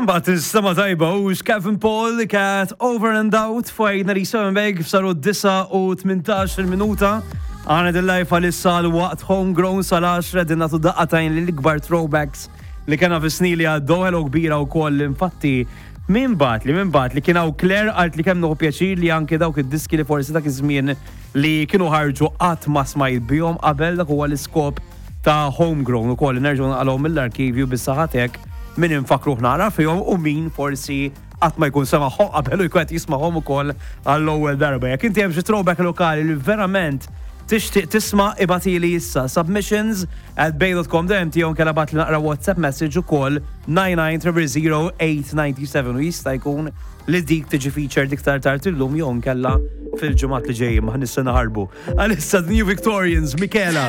Imma tinstema' tajba hux Kevin Paul Cat Over and Out fuq 97 Beg saru 9 u 18 il-minuta. Għana dil-live għalissa l-waqt homegrown sal-10 din nagħtu daqqatajn l-ikbar throwbacks li kena fi snin li għaddew. Hello kbira wkoll infatti min bat li min bat li kien hawn Claire qalt li kemm nieħu pjaċir li anke dawk id-diski li forsi dak iż-żmien li kienu ħarġu qatt ma smajt bihom qabel. Dak huwa l-iskop ta' homegrown ukoll, li nerġgħu naqalgħu mill-arkivju bis-saħatek min infakruh nara fihom u min forsi qatt ma jkun semagħhom qabel u jkun qed jismagħhom ukoll għall-ewwel darba. Jekk inti hemm xi throwback lokali li verament tixtieq tisma', ibgħatili issa submissions@bay.com.mt jew inkella bagħtli naqra WhatsApp message ukoll 99 897 u jista' jkun li dik tiġi featured iktar tard illum jew inkella fil-ġimgħat li ġejjin ma nista' naħarbu. Għalissa The New Victorians, Michela.